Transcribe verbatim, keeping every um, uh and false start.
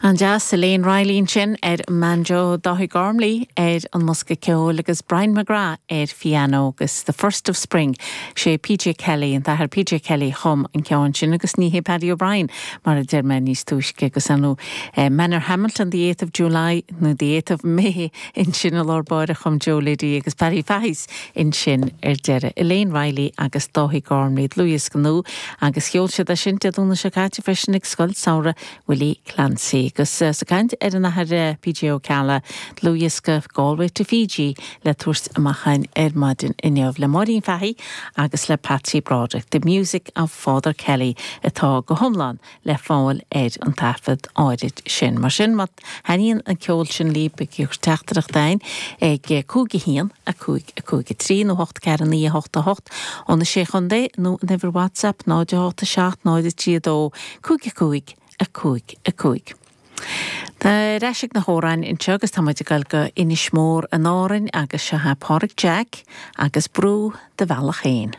An-deas Elaine Reilly ansin ar banjo Dáithí Gormley ar an mbosca ceoil agus Brian McGrath ar piano agus the first of spring sé PJ Kelly an t-athair PJ Kelly chum an ceann sin agus ní hé Paddy O'Brien mar a deir mé níos túisce agus anú eh, Manor Hamilton the eighth of July nó the eighth of May ansin i lár báire chum Joe Liddy agus Paddy Fahy's ansin ar deireadh Elaine Reilly agus Dáithí Gormley dlúthdhiosca nua agus cheol siad é sin Dé Domhnaigh seo caite freisin ag Scoil Samhraidh Willie Clancy. agus uh, sa caint ar an athair PJ Ó Ceallaigh dlúthdhiosca Galway to Fiji le tabhairt amach ar maidin inniu le Máirín Fahy agus le Patsy Broderick, The Music of Father Kelly atá go hiomlán le fáil ar an taifead áirid sin. Mar sin má thaitníonn an ceol sin libh ag teachtaireacht chugainn ag cúig a haon a cúig a cúig a trí nó hocht ceathair naoi hocht a hocht ó na sé chontae nó an uimhir WhatsApp náid a hocht a seacht náid a trí dó cúig a cúig a cúig a cúig. Tá reisig na hórán anseo agus tá muid ag dul go Inis Mór in Árainn agus seo Pádraig Jack agus brú do bhealach féin.